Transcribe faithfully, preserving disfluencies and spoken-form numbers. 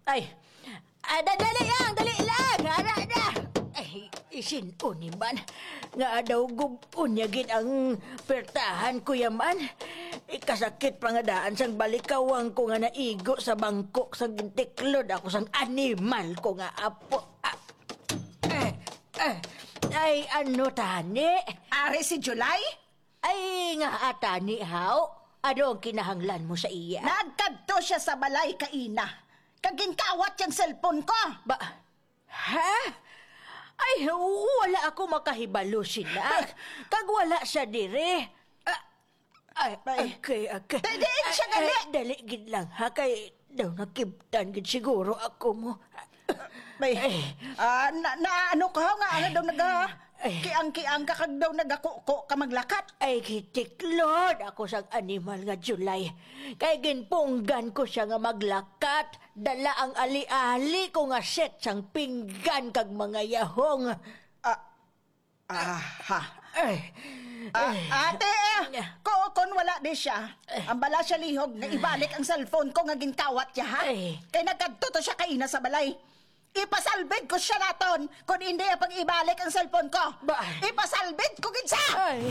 Ay, ah, da- dali lang, dali lang, ara na. Ay, isin-o ni man nga daw gub-on niya gid ang pertahan ko yaman. Ikasakit pa nga daan sang balikawang ko nga naigo sa bangkok sang gintiklod ako sang animal ko nga apo. Ah, eh, eh, ay, ano tani? Ari si July? Ay, nga atani, haw? Ano ang kinahanglan mo sa iya? Nagkadto siya sa balay kaina, kag ginkawat yang cellphone ko. Ba, ha? Ay, wala ako makahibalo sina. Kag wala siya diri. Ah, ay, Bay. Okay, okay. Di- diin siya Ay, gali. Ay, dali gid lang, ha? Kay daw nakibtan gid siguro ako mo. Bay, Ay. ah, na, na ano ka nga, ano daw naga, Ay. kiang-kiang ka kag daw nagakuko ka maglakat? Ay, gitiklod ako sang animal nga July. Kay ginpunggan ko siya nga maglakat. Dala ang ali-ali ko nga set sang pinggan kag mga yahong. Ah, ah, ha. Ay. Ah, Ay. ate, ko, kon wala di siya, ang bala siya lihog nga ibalik ang cellphone ko nga ginkawat niya, ha? Ay. Kay nagkadto to siya kaina sa balay. Ipasalbid ko siya naton, kon hindi niya pag ibalik ang cellphone ko. Ba? Ipasalbid ko gid siya! Ay.